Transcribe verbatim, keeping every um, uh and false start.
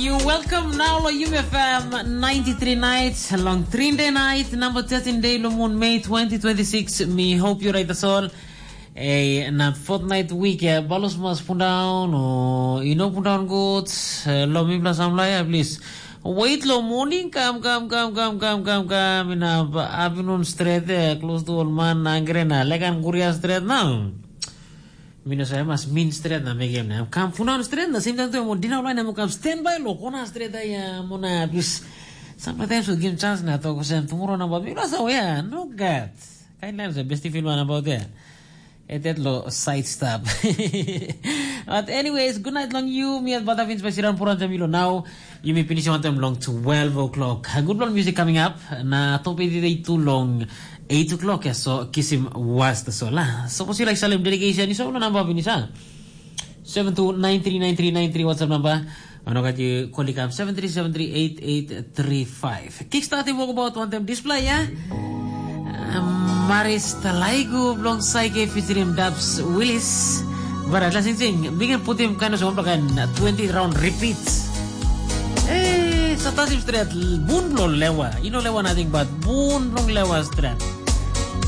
You welcome now lo Yumi F M ninety-three nights long Trinde night number thirteen day lo moon May twenty twenty-six. Me hope you right as all. Eh, na fortnight week ya balos mas pundaun o ino pundaun good. Eh, lo mipla samla ya please. Wait lo morning kam kam kam kam kam kam kam ina afternoon straight eh, close to all man angre na lekan guria straight now. Mino sa mas min stret na mekem na kam punan stret na same time tu mo dina line mo kam stand by lo kona stret ya mo na bis. Sometimes we give chance na to ko sen tomorrow na ba mino sa ya no gat. Kain line sa besti film na about there. Etet lo side stop. But anyways, good night long you. Mi at Bata Vince Basiran Puran Jamilo now. Yumi finish on time long twelve o'clock. Good long music coming up. Na top eight eight two long eight o'clock ya so kisim was the sola. Suppose you like Salim dedication, you so number finish ha. Seven two nine three nine three nine three WhatsApp number. Ano kati kolikam seven three seven three eight eight three five. Kickstart yung walk about one time display ya. Maris Talaigu blong Saike featuring Dubs Willis. Bara la sing sing, bikin putim kind of something kan twenty round repeats. Eh, sa tasim stret bun blong lewa. You know lewa nothing but bun blong lewa stret.